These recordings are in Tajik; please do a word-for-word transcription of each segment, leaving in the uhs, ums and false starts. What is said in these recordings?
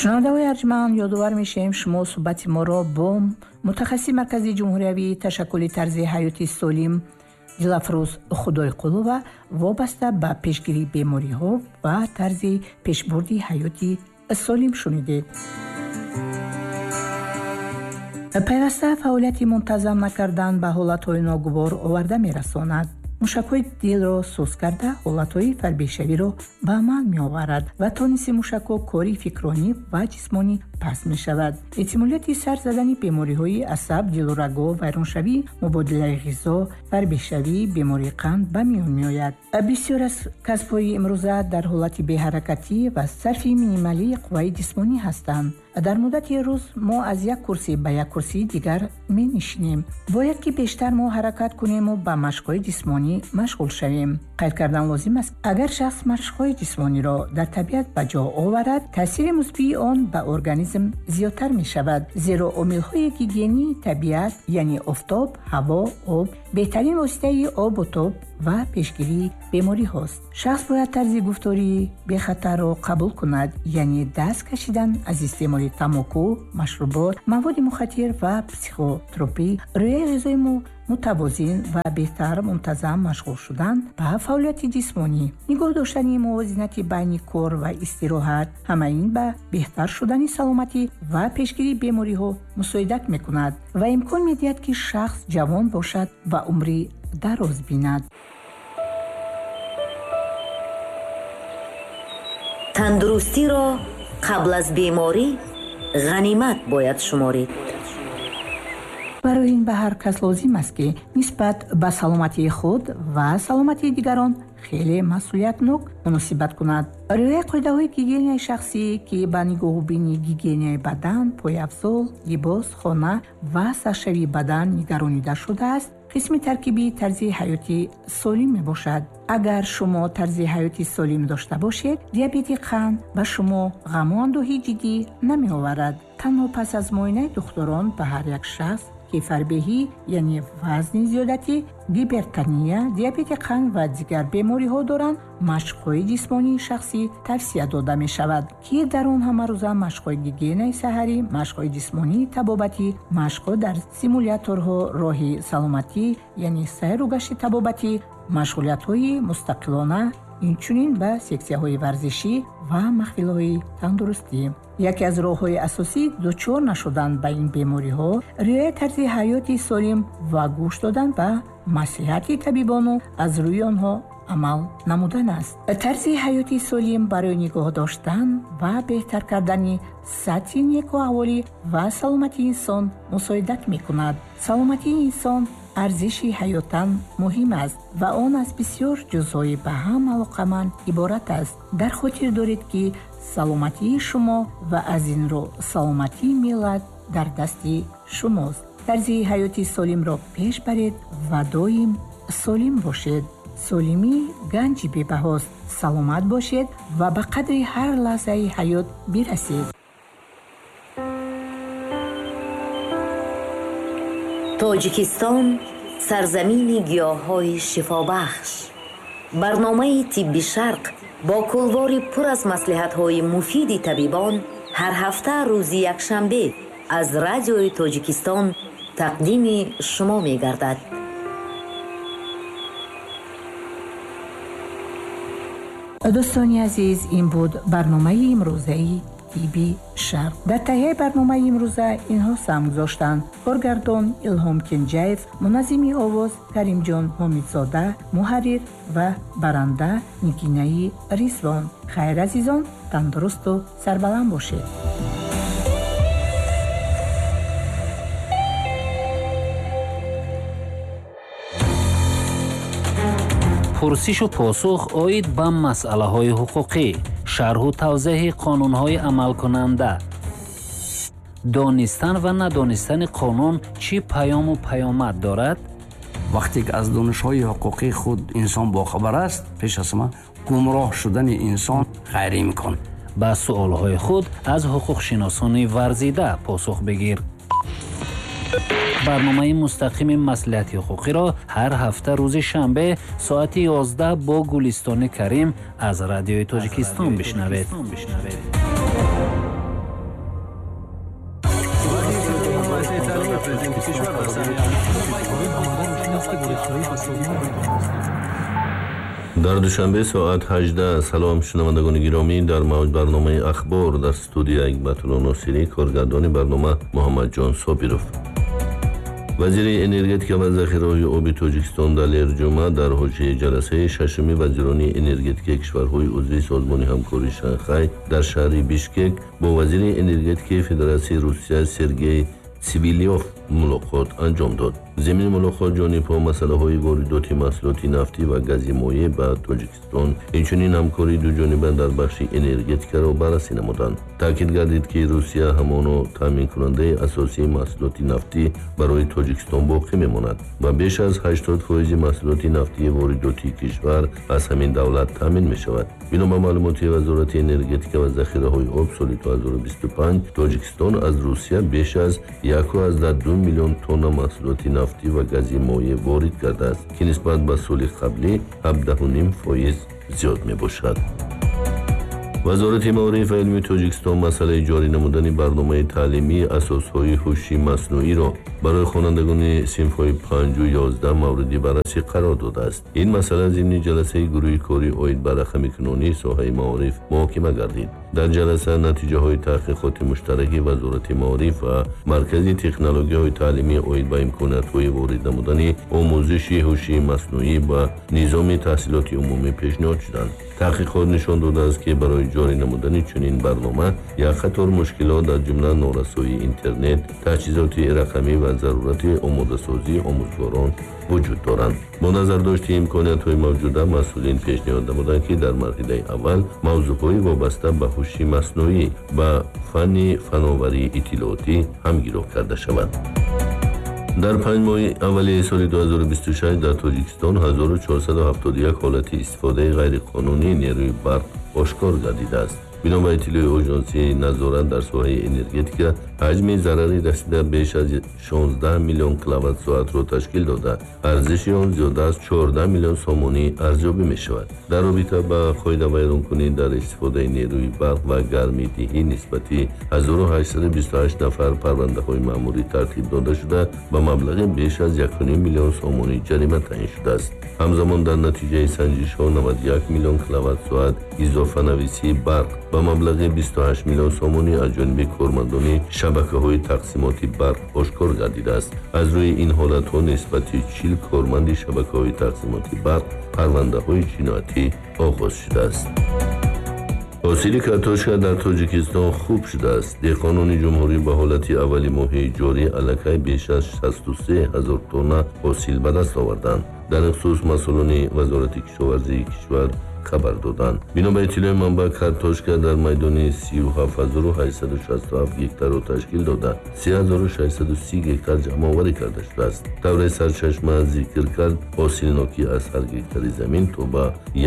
Шунавандаҳои арҷманд, ёдовар мешавем, шумо суҳбати моро бо мутахассиси Маркази ҷумҳуриявии ташаккули тарзи ҳаёти солим Дилафрӯз Худойқулова вобаста ба пешгирии бемориҳо ва тарзи пешбурди ҳаёти солим шунидед. Пайваста фаъолияти мунтазам накардан ба ҳолатҳои ногувор оварда мерасонад. Мушакҳои дилро суст карда, ҳолатҳои фарбешавиро ба амал меоварад ва тониси мушакҳо кори фикронӣ ва ҷисмонӣ паст мешавад. Эҳтимолияти сар задани бемориҳои асаб, дилу раго, вайроншавии мубодилаи ғизо, фарбешавӣ, бемории қанд ба миён меояд. Бисёр аз касбҳои имрӯза дар ҳолати беҳаракатӣ ва сарфи минималии қувваи ҷисмонӣ ҳастанд. Дар муддати рӯз мо аз як курсӣ ба як курсии дигар менишинем. Бояд ки бештар мо ҳаракат кунему ба машқҳои ҷисмонӣ машғул шавем. Қайд кардан лозим аст, агар шахс машқҳои ҷисмониро дар табиат ба ҷо оварад, таъсири мусбии он ба организм зиёдтар мешавад, зеро омилҳои гигиении табиат, яъне офтоб, ҳаво, об, беҳтарин воситаи обу тоб ва пешгирии бемориҳост. Шахс бояд тарзи гуфтории бехатарро қабул кунад, яъне даст кашидан аз истеъмоли тамоку, машрубот, маводи мухаттир ва психотропӣ, рӯяи ғизои мутавозин ва беҳтар мунтазам машғул шудан ба фаъолияти ҷисмонӣ, нигоҳ доштани мувозинати байни кор ва истироҳат. Ҳама ин ба беҳтар шудани саломатӣ ва пешгирии бемориҳо мусоидат мекунад ва имкон медиҳад, ки шахс ҷавон бошад ва умри дароз бинад. Тандурустиро қабл аз беморӣ ғанимат бояд шуморид. Барои ин ба ҳар кас лозим аст, ки нисбат ба саломатии худ ва саломатии дигарон хеле масъулиятнок муносибат кунад. Риояи қоидаҳои гигиенаи шахсӣ, ки ба нигоҳубини гигиенаи бадан, пойафзол, либос, хона ва саршавии бадан нигаронида шудааст, қисми таркибии тарзи ҳаёти солим мебошад. Агар шумо тарзи ҳаёти солим дошта бошед, диабети қанд ба шумо ғаму андӯҳи ҷиддӣ намеоварад. Танҳо пас аз муоинаи духтурон ба ҳар як шахс, ки фарбеҳӣ, яъне вазни зиёдатӣ, гипертония, диабети қанд ва дигар бемориҳо доранд, машқҳои ҷисмонии шахсӣ тавсия дода мешавад, ки дар он ҳамарӯза машқҳои гигиенаи саҳарӣ, машқҳои ҷисмонии табобатӣ, машқҳо дар симуляторҳо, роҳи саломатӣ, яъне сайру гашти табобатӣ, машғулиятҳои мустақилона, инчунин ба сексияҳои варзишӣ ва маҳфилҳои тандурустӣ. Яке аз роҳҳои асосӣ дучор нашудан ба ин бемориҳо риояи тарзи ҳаёти солим ва гӯш додан ба маслиҳати табибону аз рӯи онҳо амал намудан аст. Тарзи ҳаёти солим барои нигоҳ доштан ва беҳтар кардани сатҳи некуаҳволӣ ва саломатии инсон мусоидат мекунад. Саломатии инсон арзиши ҳаётан муҳим аст ва он аз бисёр ҷузъҳои ба ҳам алоқаманд иборат аст. Дар хотир доред, ки саломатии шумо ва аз ин рӯ саломатии миллат дар дасти шумост. Тарзи ҳаёти солимро пеш баред ва доим солим бошед. Солимӣ ганҷи бебаҳост. Саломат бошед ва ба қадри ҳар лаҳзаи ҳаёт бирасед. Тоҷикистон сарзамини гиёҳҳои шифобахш. Барномаи «Тибби Шарқ» бо кулвори пур аз маслиҳатҳои муфиди табибон ҳар ҳафта рӯзи якшанбе аз Радиои Тоҷикистон тақдими шумо мегардад. Дӯстони азиз, ин буд барномаи имрӯзаи «Тибби Шарқ». Дар таҳияи барномаи имрӯза инҳо саҳм гузоштанд: коргардон Илҳом Кенҷаев, муназзими овоз Каримҷон Ҳомидзода, муҳаррир ва баранда Нигинаи Ризвон. Хайр, азизон, тандурусту сарбаланд бошед. Пурсишу посух оид ба масъалаҳои ҳуқуқӣ, шарҳу тавзеҳи қонунҳои амалкунанда, донистан ва надонистани қонун чӣ паёму паёмад дорад? Вақте ки аз донишҳои ҳуқуқии худ инсон бохабар аст, пеш аз ҳама гумроҳ шудани инсон ғайриимкон. Ба суолҳои худ аз ҳуқуқшиносони варзида посух бигир. Барномаи мустақими маслиҳати ҳуқуқиро ҳар ҳафта рӯзи шанбе соати ёздаҳ бо Гулистони Карим аз Радиои Тоҷикистон бишнавед. Дар Душанбе соат ҳаждаҳ. Салом, шунавандагони гиромӣ, дар мавҷ барномаи Ахбор, дар студия Ҳикматулло Носирӣ, коргардони барнома Муҳаммадҷон Собиров. Вазири энергетика ва захираҳои оби Тоҷикистон Далер Ҷума дар ҳошияи ҷаласаи шашуми вазирони энергетикаи кишварҳои узви Созмони ҳамкории Шанхай дар шаҳри Бишкек бо вазири энергетикаи Федератсияи Русия Сергей Цивилёв мулоқот анҷом дод. Зимни мулоқот ҷонибҳо масъалаҳои воридоти маҳсулоти нафтӣ ва гази моеъ ба Тоҷикистон, инчунин ҳамкории дуҷониба дар бахши энергетикаро баррасӣ намуданд. Таъкид гардид, ки Русия ҳамоно таъминкунандаи асосии маҳсулоти нафтӣ барои Тоҷикистон боқӣ мемонад ва беш аз ҳаштод фоизи маҳсулоти нафтии воридотии кишвар аз ҳамин давлат таъмин мешавад. Бино ба маълумоти Вазорати энергетика ва захираҳои об, соли ду ҳазору бисту панҷ Тоҷикистон аз Русия беш аз яку аздаҳ ду миллион тонна маҳсулоти нафтӣ ва гази моеъ ворид кардааст, ки нисбат ба соли қаблӣ ҳабдаҳу ним фоиз зиёд мебошад. Вазорати маориф ва илми Тоҷикистон масъалаи ҷорӣ намудани барномаи таълимии асосҳои ҳуши маснуиро барои хонандагони синфҳои панҷу ёздаҳ мавриди баррасӣ қарор додааст. Ин масъала зимни ҷаласаи гурӯҳи корӣ оид ба рақамикунонии соҳаи маориф муҳокима гардид. Дар ҷаласа натиҷаҳои таҳқиқоти муштараки Вазорати маориф ва Маркази технологияҳои таълимӣ оид ба имкониятҳои ворид намудани омӯзиши ҳуши маснуӣ ба низоми таҳсилоти умумӣ пешниҳод шуданд. Таҳқиқот нишон додааст, ки барои ҷорӣ намудани чунин барнома як қатор мушкилот, аз ҷумла норасоии интернет, таҷҳизоти рақамӣ ва зарурати омодасозии омӯзгорон вуҷуд доранд. Бо назардошти имкониятҳои мавҷуда, масъулин пешниҳод намуданд, ки дар марҳилаи аввал мавзӯъҳои вобаста ба ҳуши маснуӣ ба фанни фановарии иттилоотӣ ҳамгиро карда шавад. Дар панҷ моҳи аввали соли ду ҳазору бисту шаш дар Тоҷикистон ҳазору чорсаду ҳафтоду як ҳолати истифодаи ғайриқонунии нерӯи барқ ошкор гардидааст. Бино ба иттилои Оҷонсии назорат дар соҳаи энергетика, ҳаҷми зарари расида беш аз шонздаҳ миллион киловатт-соатро ташкил дода, арзиши он зиёда аз чордаҳ миллион сомонӣ арзёбӣ мешавад. Дар робита ба қоидавайронкунӣ дар истифодаи нерӯи барқ ва гармидиҳӣ нисбати ҳазору ҳаштсаду бисту ҳашт нафар парвандаҳои маъмурӣ тартиб дода шуда, ба маблағи беш аз яку ним миллион сомонӣ ҷарима таъин шудааст. Ҳамзамон дар натиҷаи санҷишҳо наваду як миллион киловатт-соат изофанависии барқ ба маблағи бисту ҳашт миллион сомонӣ аз ҷониби кормандони шабакаҳои тақсимоти барқ ошкор гардидааст. Аз рӯи ин ҳолатҳо нисбати чил корманди шабакаҳои тақсимоти барқ парвандаҳои ҷиноятӣ оғоз шудааст. Ҳосили картошка дар Тоҷикистон хуб шудааст. Деҳқонони ҷумҳурӣ ба ҳолати аввали моҳи ҷорӣ аллакай беш аз шасту се ҳазор тонна ҳосил ба даст оварданд. Дар ин хусус масъулони Вазорати кишоварзии кишвар хабар доданд. Бино ба иттилои манбаъ, картошка дар майдони сию ҳафт ҳазору ҳаштсаду шасту ҳафт гектарро ташкил дода, се ҳазору шашсаду си гектар ҷамъоварӣ карда шудааст. Тавре сарчашма зикр кард, ҳосилнокӣ аз ҳар гектари замин то ба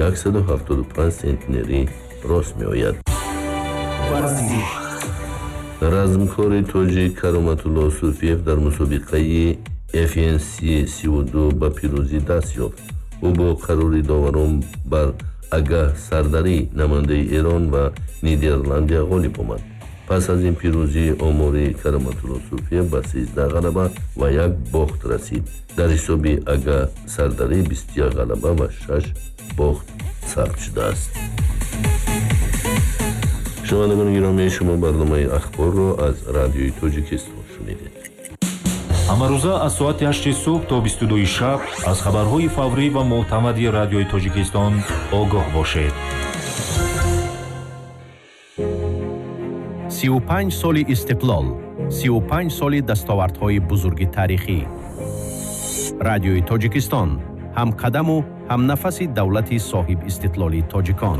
яксаду ҳафтоду панҷ сентнерӣ рост меояд. Размкори тоҷик Кароматулло Суфиев дар мусобиқаи Ф Н С сию ду ба пирӯзӣ даст ёфт. Ӯ бо қарори доварон бар Агаҳ Сардарӣ, намояндаи Эрон ва Нидерландия ғолиб омад. Пас аз ин пирӯзӣ омори Кароматулло Суфиев ба сездаҳ ғалаба ва як бохт расид. Дар ҳисоби Агаҳ Сардарӣ бисту як ғалаба ва шаш бохт сабт шудааст. Шунавандагони гиромӣ, шумо барномаи Ахборро аз Радиои Тоҷикистон шунидед. Ҳамарӯза аз соати ҳашти субҳ то бисту дуи шаб аз хабарҳои фаврӣ ва мӯътамади Радиои Тоҷикистон огоҳ бошед. сию панҷ соли истиқлол, сию панҷ соли дастовардҳои бузурги таърихӣ. Радиои Тоҷикистон ҳамқадаму ҳамнафаси давлати соҳиб истиқлоли тоҷикон.